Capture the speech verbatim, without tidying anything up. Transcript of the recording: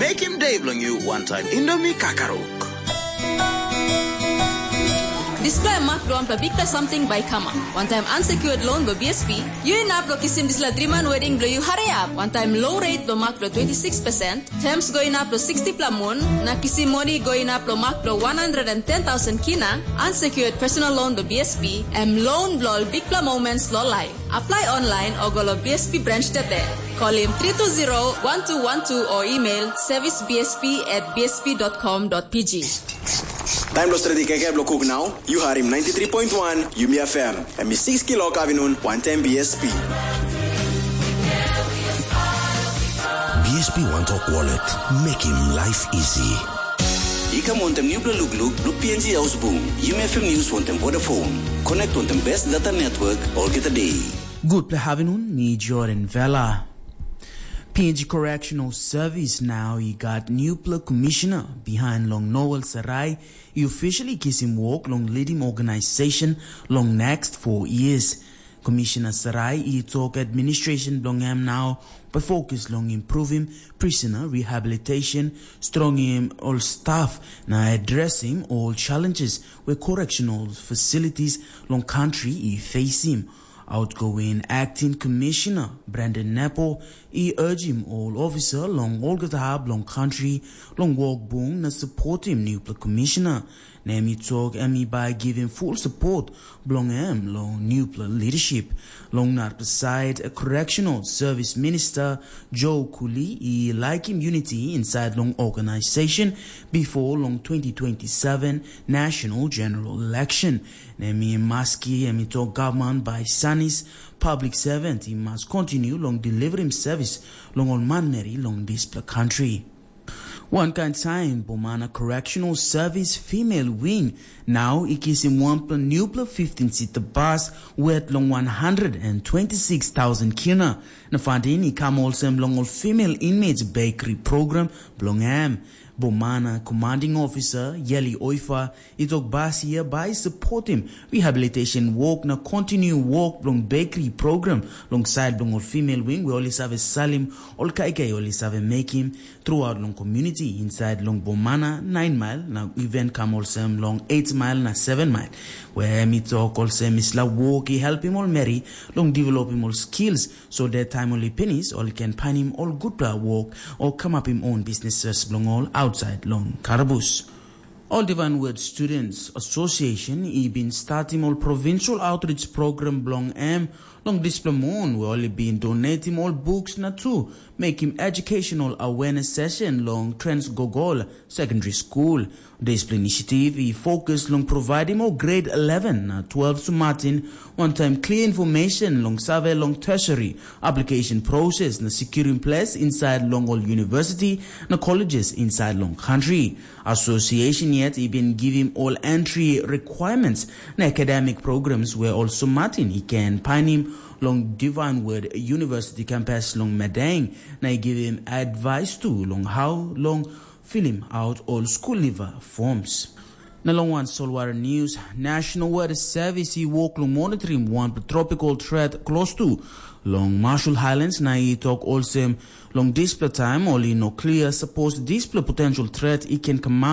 Mekim de bilong yu wantaim Indomie kakaruk. Dispela em mak bilong wanpela bikpela samting bai i kamap. Wantaim unsecured loan bilong B S P, yu inap long kisim dispela driman wedding bilong yu hariap. Wantaim low rate bilong mak bilong twenty six percent, terms go inap long sixty pela mun, na kisim moni go inap long mak bilong one hundred and ten thousand kina, unsecured personal loan bilong B S P, em loan bilong ol bikpela moments long life. Apply online o go long B S P branch today. Call him three two zero one two one two or email service B S P at B S P dot com dot P G. Taim lo stredi kaikai bilong kuk nau, yu harim ninety three point one Yumi F M. Em i six kilok avinun, wantaim B S P. B S P One Talk Wallet, making life easy. I kam wantaim nupela lukluk bilong P N G Ausbung, Yumi F M News wantaim Vodafone. Connect wantaim best data network olgeta day. Gutpela havinun, mi Jordan Vela. P N G Correctional Service nau i gat nupela commissioner behind long Noel Sarai i officially kisim wok long leading organization long next four years. Commissioner Sarai i tok administration bilong em nau bai focus long improving prisoner rehabilitation, strongim ol staff na addressing all challenges where correctional facilities long country i facing. Outgoing Acting Commissioner Brandon Nepo i urgim all officer long olgeta hap long country long wok bung na supportim nupela commissioner. Na em i tok em i bai givim full support bilong em long nupela leadership. Long narapela side, Correctional Service Minister Joe Kuli i laikim unity inside long organization before long twenty twenty-seven National General Election. Na em i maski em i tok gavman bai sanis public servant i mas kontinu long deliverim service long ol manmeri long dispela country. Wankain sain, Bomana Correctional Service Female Wing nau i kisim wanpela nupela fifteen sita bas wet long one hundred and twenty-six thousand kina. Na funding i kam olsem long ol female inmates bakery program bilong em. Bomana Commanding Officer Yeli Oifa i tok bas hia bai supportim rehabilitation work na continue work bilong bakery program long side bilong ol female wing, where ol i save salim ol kaikai ol i save mekim throughout long community inside long Bomana nine mile na even kam olsem long eight mile na seven mile, where em i tok olsem isla work i helpim ol meri long developim ol skills, so that taim ol i pinis ol i ken painim ol gutpela work o kamapim own businesses bilong ol outside long karabus. Ol Divine Word Students Association i bin statim ol provincial outreach program bilong em long dispela mun, where ol i bin donetim ol books na tu mekim educational awareness session long Trans Gogol Secondary School. Dispela initiative i focus long providing ol grade eleven na twelve sumatin wantaim clear information long save long tertiary application process na securing place inside long ol university na colleges inside long country. Association yet i bin givim ol entry requirements na academic programs where ol sumatin i can painim long Divine Word University campus long Madang, na i givim advice tu long how long filim out ol school leaver forms. Na long wan solwara news, National Weather Service i wok long monitoring wanpela tropical threat close to long Marshall Islands, na i tok olsem long dispela taim ol i no clear suppose dispela potential threat i can come